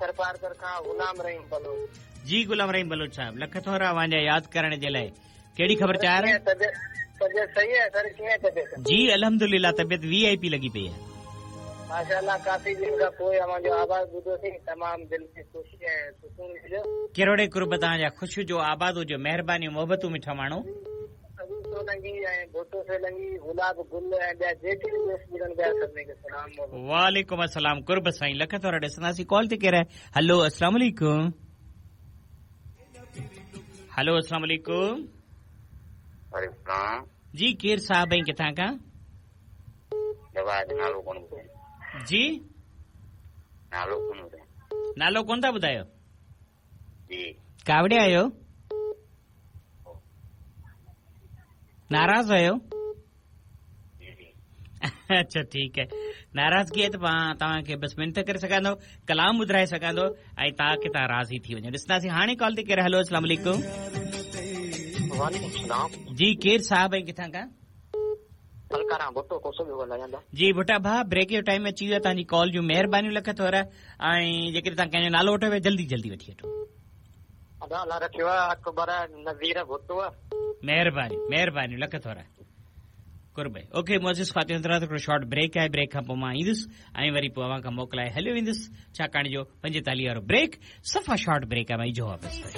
ٿرپارڪر کان غلام رحيم بلوچ. جي غلام رحيم بلوچ صاحب لک ٿورا اوهان جا ياد ڪرڻ جي لاء ڪهڙي خبر چار؟ طبيعت طبيعت صحيح آهي سر ڪيئن طبيعت؟ جي الحمدلله طبيعت وي آء پي لڳي پئي آهي. ماشاءالله ڪافي ڏينهن کان پوء اوهان جو آواز ٻڌوسين تمام دل کي خوشي ۽ سڪون مليو. ڪروڙين قرب توهان جا خوش هجو آباد هجو مهربانيون محبتون مٺا ماڻهو. ابو سولنگي ۽ ڀٽو سولنگي، گلاب گل ۽ ٻيا جيڪي به دوست ٻڌن پيا سڀني کي سلام محبت. وعليڪم السلام قرب سائين لک ٿورا ڏسنداسين ڪال تي ڪير آهي هلو السلام عليڪم هلو السلام عليڪم. وعليڪم السلام. جي ڪير صاحب ۽ ڪٿان کان؟ جواد نالو ڪونه ٻڌايو. جي. نالو ڪونه ٻڌايو. نالو ڪونه ٿا ٻڌايو؟ جي. ڪاوڙيا آهيو؟ ناراض آهيو؟ اڇا ٺيڪ آهي ناراضگي آهي ته مان توهان کي بس منت ڪري سگهان ٿو ڪلام ٻڌرائي سگهان ٿو ۽ تاڪه توهان راضي ٿي وڃو ڏسنداسين هاڻي ڪال تي ڪير هلو اسلام عليڪم وعليڪم السلام جي ڪير صاحب ۽ ڪٿان کان ملڪارام ڀٽو کوسو پيو ڳالهايان ٿا. جي ڀٽا ڀاء بريڪ جو ٽائيم اچي ويو آهي توهان جي ڪال جون مهربانيون لک ٿورا ۽ جيڪڏهن توهان ڪنهن جو نالو وٺو پيا جلدي جلدي وٺي وٺو. ادا الله رکيو آ اڪبر نذير ڀٽو. مهربانيون مهربانيون لک ٿورا قرب اوڪي معزز خواتين حضرات هڪڙو شارٽ بريڪ آهي بريڪ کان پوء مان ايندس ۽ وري پوء اوهان کان موڪلائي هليو ويندس ڇاڪاڻ جو 45 وارو بريڪ صفا شارٽ بريڪ آهي مان اجهو واپس ٿو اچان.